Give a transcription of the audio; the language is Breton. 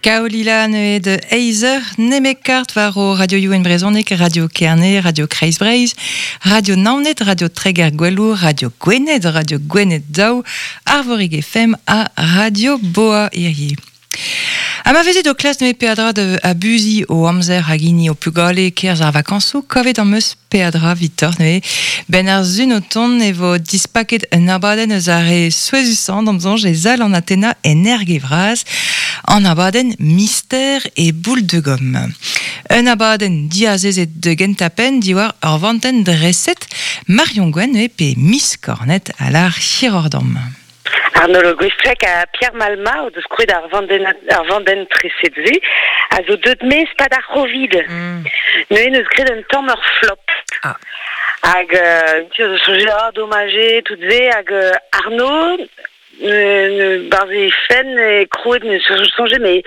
Kaolila neuze de Eizer, nemet kart war o Radio Youen Brezhoneg, Radio Kerne, Radio Kreiz Breizh, Radio Naoned, Radio Treger Gwelour, Radio Gwened, Radio Gwened Daou, Arvorig FM ha Radio Boa hirie. Ha ma vezit o klask neuze peadra da abuziñ ho amzer hag hini ho pugale e-kerzh ar vakañsoù, kavet am eus peadra 'vitoc'h neuze. 'Benn ar sun o tont e vo dispaket un abadenn eus ar re souezhusañ d'am soñj e sal an Atena en Erge-Vras, an abadenn Mister e boule de gomme. Un abadenn diazezet da gentañ-penn diwar ur vantenn dreset Marion Gwenn neuze pe Miss Cornet a lâr hiroc'h deomp. Arnaud Le Gouestrec ha Pierre Malma o deus krouet ar vandenn ar vandenn treset-se a zo deuet maez pad ar Covid. Neuze neus graet un tamm ur flop. Ah. Hag tu zo soñjet ah domaj eo tout se hag Arnaud barzh he fenn e krouet neus soñjet mais.